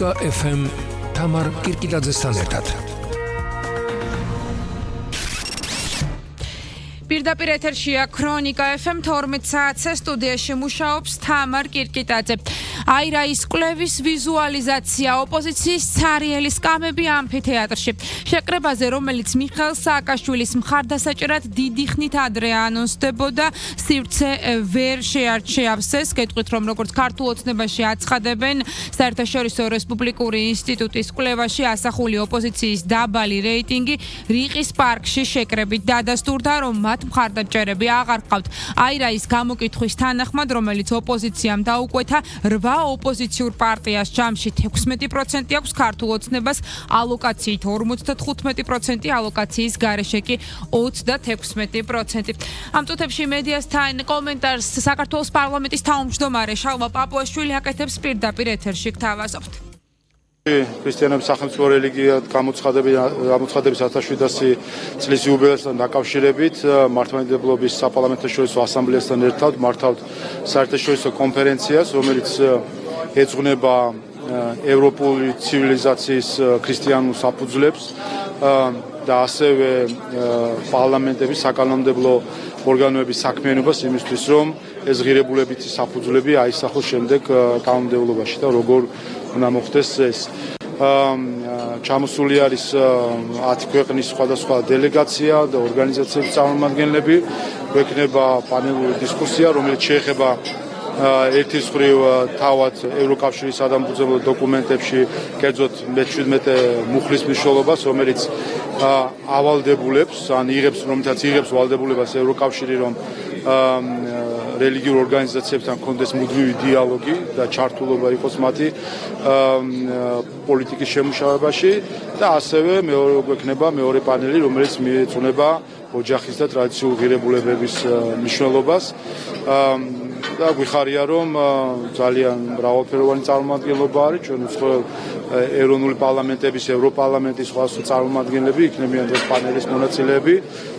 ქრონიკა FM თამარ კირკილაძესთან ერთად. პირდაპირ ეთერშია ქრონიკა FM 12 საათზე სტუდიაში მუშაობს თამარ კირკიტაძე. აირაის კვლევის ვიზუალიზაცია ოპოზიციის ცარიელი სკამები ამფითეატრში. შეკრებაზე, რომელიც მიხეილ სააკაშვილის მხარდასაჭერად დიდი ხნით ადრე ანონსდებოდა, სივრცე ვერ შეარჩევს. კეთყვით, რომ როგორც ქართულ ოცნებაში აცხადებენ, საერთაშორისო რესპუბლიკური ინსტიტუტის კვლევაში ასახული ოპოზიციის დაბალი რეიტინგი რიყის პარკში შეკრებით დადასტურდა, რომ მათ მხარდაჭერები აღარ ყავთ. აირაის გამოკითხვის თანახმად, რომელიც ოპოზიციამ დაუკვეთა, 8 ოპოზიციურ პარტიას ჯამში 16% აქვს ქართულ ოცნებას ალოკაციით 55%, ალოკაციის გარეშე კი 26%. ამ წუთებში მედიასთან კომენტარს საქართველოს პარლამენტის თავმჯდომარე შალვა პაპუაშვილი აკეთებს პირდაპირ ეთერში. გთავაზობთ. ქრისტიანების სახელმწიფო რელიგიად გამოცხადების 1700 წლის იუბილეასთან დაკავშირებით მართლმადიდებლობის საპარლამენტაშორისო ასამბლეასთან ერთად მართავთ საერთაშორისო კონფერენციას, რომელიც ეძღვნება ევროპული ცივილიზაციის ქრისტიანულ საფუძვლებს და ასევე პარლამენტების საკანონმდებლო ორგანოების საქმიანობას იმისთვის, რომ ეს ღირებულებითი საფუძვლები აისახოს შემდეგ კანონმდებლობაში და როგორ უნდა მოხდეს ეს. ჩამოსული არის 10 ქვეყნის სხვადასხვა დელეგაცია და ორგანიზაციების წარმომადგენლები. გვექნება პანელური დისკუსია, რომელიც შეეხება ერთის მხრივ თავად ევროკავშირის სადამბრძოლო დოკუმენტებში კერძოდ მე-17 მუხლის მნიშვნელობას, რომელიც ავალდებულებს, ან რომელთაც იღებს ვალდებულებას ევროკავშირი, რომ რელიგიურ ორგანიზაციებთან კონდეს მუდმივი დიალოგი და ჩართულობა იყოს მათი პოლიტიკის შემუშავებაში და ასევე გვექნება მეორე პანელი, რომელიც მიეძღვნება ოჯახის და ტრადიციულ ღირებულებების მნიშვნელობას. და გვიხარია, რომ ძალიან მრავალფეროვანი წარმომადგენლობა არის ჩვენ უცხოელ ეროვნული პარლამენტების, ევროპარლამენტის სხვადასხვა წარმომადგენლები იქნებიან ეს პანელის მონაწილეები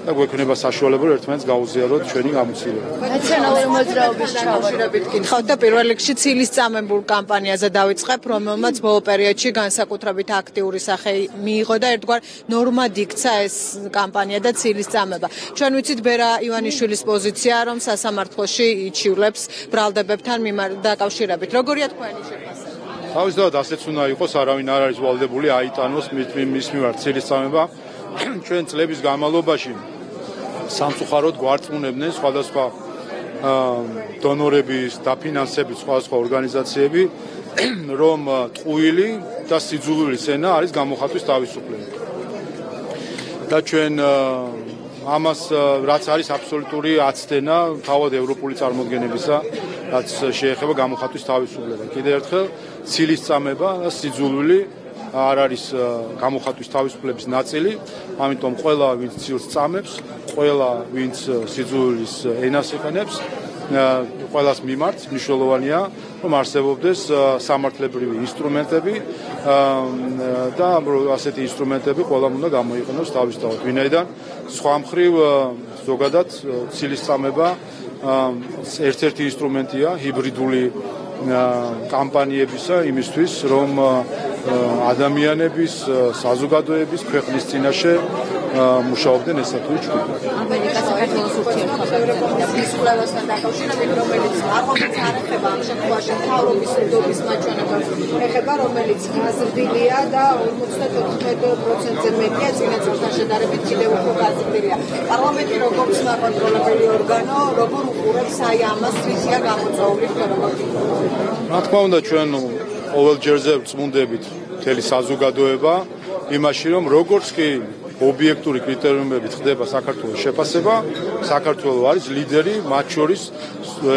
და გვექნება საშუალება ერთმანეთს გაუზიაროთ ჩვენი გამოცდილება. ნაციონალური მოძრაობის ჩავშურებით გითხავთ და პირველ რიგში ცილის წამებულ კამპანიაზე დავიწყებ, რომელმაც ბოლო პერიოდში განსაკუთრებით აქტიური სახე მიიღო და ერთგვარ ნორმად იქცა ეს კამპანია და ცილის წამება. ჩვენ ვიცით ბერა ივანიშვილის პოზიცია, რომ სასამართლოში იჩივლებს ბრალდებებთან დაკავშირებით. როგორია თქვენი შეფასება? თავისთავად ასეც უნდა იყოს, არავინ არ არის ვალდებული აიტანოს მის მიმართ ცილის წამება. ჩვენ წლების განმავლობაში სამწუხაროდ გვარწმუნებდნენ სხვადასხვა დონორების, დაფინანსებით სხვადასხვა ორგანიზაციები, რომ ტყუილი და სიძულვილის ენა არის გამოხატვის თავისუფლება. და ჩვენ ამას რაც არის აბსოლუტური აცდენა თავად ევროპული წარმოდგენებისა, რაც შეეხება გამოხატვის თავისუფლება. კიდევ ერთხელ ცილის წამება და სიძულვილი არ არის გამოხატვის თავისუფლების ნაწილი, ამიტომ ყველა ვინც ცილის წამებს, ყველა ვინც სიძულვილის ენას იყენებს, ყველას მიმართ მნიშვნელოვანია, რომ არსებობდეს სამართლებრივი ინსტრუმენტები და ასეთი ინსტრუმენტები ყველამ უნდა გამოიყენოს თავისთავად. ვინაიდან სხვა მხრივ ზოგადად ცილის წამება ერთ-ერთი ინსტრუმენტია ჰიბრიდული კამპანიებისა იმისთვის, რომ ადამიანების, საზოგადოების ქვეყნის წინაშე მუშაობდნენ ესა თუ ჯგუფი. ამერიკა-საქართველოს ურთიერთობების კვლევასთან დაკავშირებით, რომელიც არღომიც არ ეხება ამ შემთხვევაში მთავრობის უდობის მაჩვენებლებს, ეხება რომელიც გაზრდილია და 54%-ზე მეტია წინა წელთან შედარებით კიდევ უფრო გაზრდილია. პარლამენტი როგორც საკონტროლებელი ორგანო, როგორ უყურებს აი ამას, რისია გამოწვეული როგორი? რა თქმა უნდა, ჩვენ ყოველ ჯერზე ვწმუნდებით მთელი საზოგადოება იმაში, რომ როგორც კი ობიექტური კრიტერიუმებით ხდება საქართველოს შეფასება, საქართველო არის ლიდერი მათ შორის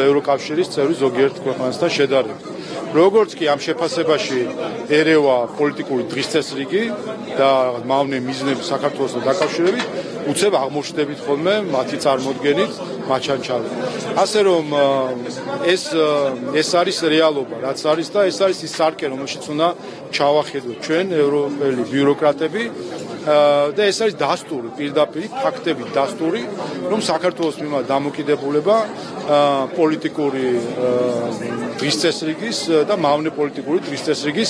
ევროკავშირის წევრი ზოგიერთ ქვეყანასთან შედარებით. როგორც კი ამ შეფასებაში ერევა პოლიტიკური დღისწესრიგი და მავნე მიზნები საქართველოსთან დაკავშირებით, უცებ აღმოჩნდებით ხოლმე მათი წარმოდგენით მაჩანჩალები. ასე რომ ეს არის რეალობა, რაც არის და ეს არის ის სარკე, რომელშიც უნდა ჩავახედოთ ჩვენ ევროპელი ბიუროკრატები და ეს არის დასტური, პირდაპირ ფაქტებით დასტური, რომ საქართველოს მიმართ დამოკიდებულება პოლიტიკური დღისწესრიგის და მავნე პოლიტიკური დღისწესრიგის